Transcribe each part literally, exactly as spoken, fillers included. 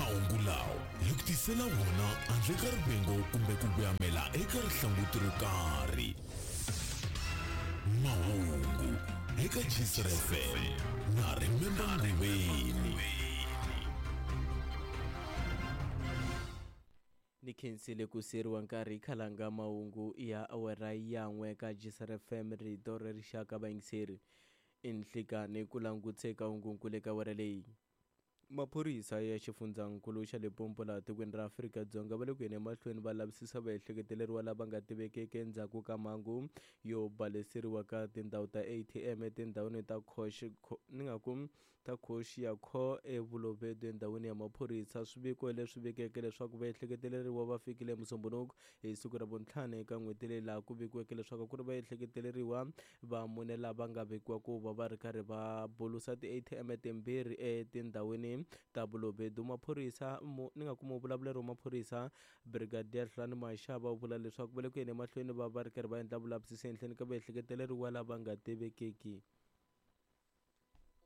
Mahungu lawa hi ku tisela wona handle ka rivengo kumbe ku vuyamela eka rihlanguti ro karhi. Mahungu eka G C F M na Remember Nguveni. Ni khensile ku siyeriwa nkarhi. Khalanga, mahungu ya awara yan'we ka G C F M, rito ra rixaka. Vayingiseri, i nhlikani ku languteka hungunkulu eka awara leyi. Maphorisa ya xifundzankulu xa Limpopo laha tikweni ra Afrika-Dzonga va le ku yeni emahlweni va lavisisa vaehleketeleriwa lava nga tivekeke endzhaku ka mhangu yo baleseriwa ka tindhawu ta A T M etindhawini ta Khosh, ni nga ku ta Khoxiakho eVulovedu endhawini ya maphorisa. Swiviko leswi vikeke leswaku vaehleketeleriwa va fikile Musumbunuku hi siku ra vuntlhanu eka n'hweti leyi, laha ku vikiweke leswaku ku ri vaehleketeleriwa va mune lava nga vekiwa ku va va ri karhi va bulusa ti-A T M timbirhi etindhawini ta Vulovedu. Maphorisa, ni nga kuma vulavuleri wa maphorisa, Brigadier Hlulani Mashaba, u vula leswaku va le ku yeni emahlweni va va ri karhi va endla vulavisisi ehenhleni ka vaehleketeleriwa lava nga tivekeki.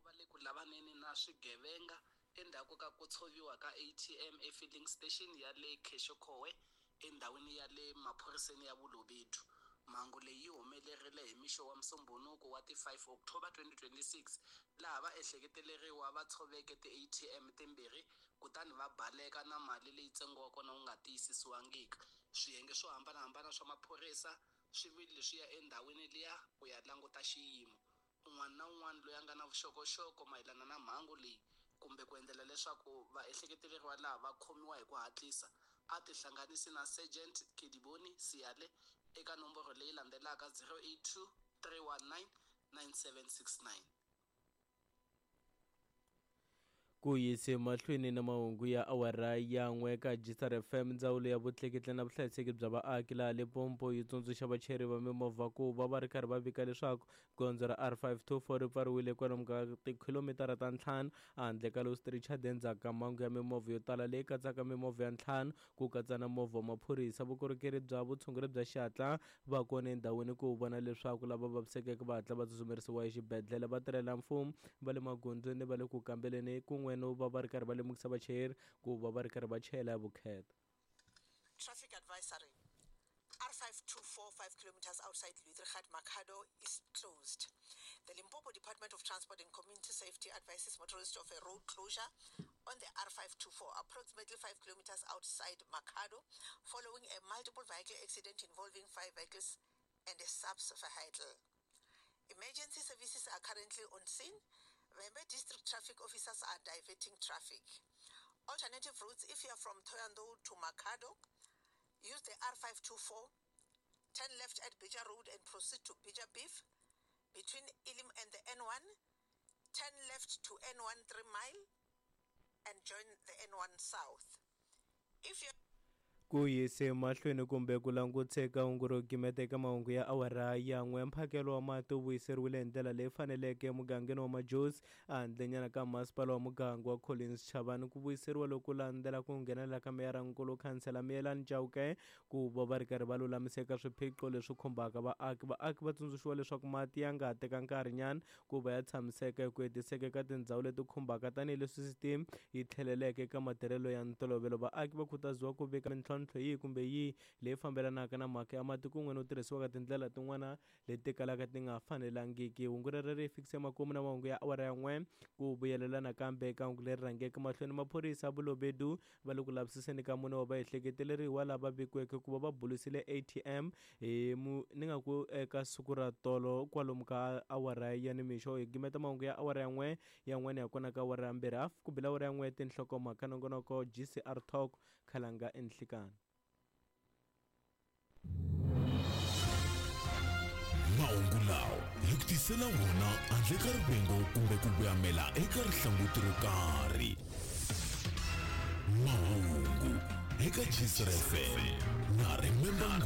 Va le ku lavaneni na swigevenga endzhaku ka ku tshoviwa ka A T M efilling station ya le Khexekhowe endhawini ya le maphoriseni ya Vulovedu. Mhangu leyi yi humelerile hi mixo wa Musumbunuku wa ti five October twenty twenty-six, laha vaehleketeleriwa va tshoveke ti-A T M timbirhi kutani va baleka na mali leyi ntsengo wa kona wu nga tiyisisiwangiki. Swiyenge swo hambanahambana swa maphorisa swi vile swi ya endhawini liya ku ya languta xiyimo. Un'wana na un'wana loyi a nga na vuxokoxoko mayelana na mhangu leyi kumbe ku endlela leswaku vaehleketeleriwa laha va khomiwa hi ku hatlisa, a tihlanganisi na Sergeant Kedibone Siale eka nomboro leyi landzelaka: zero eight two, three one nine, nine seven six nine. Ku yise mahlweni na mahungu ya awara yan'we ka G C R F M. Ndzawulo ya vutleketli na vuhlayiseki bya vaaki laha Limpopo yi tsundzuxa vachayeri va mimovha ku va va ri karhi va vika leswaku gondzo ra R five two four ri pfariwile kwalomu ka tikhilomitara ta ntlhanu handle ka Louis Trichardt endzhaku ka mhangu ya mimovha yo tala leyi katsaka mimovha ya ntlhanu, ku katsa na movha wa maphorisa. Vukorhokeri bya vutshunguri bya xihatla va kona endhawini ku vona leswaku lava vavisekeke va hatla va tsutsumerisiwa exibedhlele. Vatirhela mfumo va le magondzweni va le ku kambeleni kun'we no va va ri karhi va lemukisa vachayeri ku va va ri karhi va chayela hi vukheta. Traffic advisory. R five two four, five kilometers outside Lüderitz, Makhado is closed. The Limpopo Department of Transport and Community Safety advises motorists of a road closure on the R five two four, approximately five kilometers outside Makhado, following a multiple vehicle accident involving five vehicles and a SAPS vehicle. Emergency services are currently on scene. Vhembe District traffic officers are diverting traffic. Alternative routes: if you are from Thohoyandou to Makhado, use the R five two four, turn left at Bija Road and proceed to Bija Beef. Between Elim and the N one, turn left to N one three mile and join the N one South. If you Ku yise mahlweni kumbe ku languteka hungu ro gimeta eka mahungu ya awara yan'we. Mphakelo wa mati wu vuyiseriwile hi ndlela leyi faneleke emugangeni wa Majosi, handlenyana ka masipala wa muganga wa Collins Chabane. Ku vuyiseriwa loku landzela ku nghenelela ka meyarankulu, khansela Miyelani Chauke, ku va va ri karhi va lulamiseka swiphiqo leswi khumbaka vaaki. Vaaki va tsundzuxiwa leswaku mati ya nga ha teka nkarhinyana ku va ya tshamiseka hi ku hetiseka eka tindhawu leti khumbaka, tanihileswi sisiteme yi tlheleleke eka matirhelo ya ntolovelo. Vaaki va khutaziwa ku vika mintlhontlho yihi kumbe yihi leyi fambelanaka na mhaka ya mati kun'we no tirhisiwa ka tindlela tin'wana leti kalaka ti nga fanelangiki. Hungu rero ri fikise makumu na mahungu ya awara ya n'we. Ku vuyelela nakambe eka hungu leri rhangeke mahlweni, maphorisa Vulovedu va le ku lavisiseni ka mune wa vaehleketeleriwa lava vikiweke ku va va bulusile A T M hi mu ni nga ku eka siku ra tolo kwalomu ka awara ya nimixo. Hi gimeta mahungu ya awara ya n'we, yan'wana ya kona ka awara ya mbirhi hafu ku bila awara ya n'we, tinhlokomhaka nongonoko G C R Talk. Khalanga, enhlikani. Mahungu lawa hi ku tisela wona handle ka rivengo kumbe ku vuyamela eka rihlanguti ro karhi. Mahungu eka G C R F M na Remember.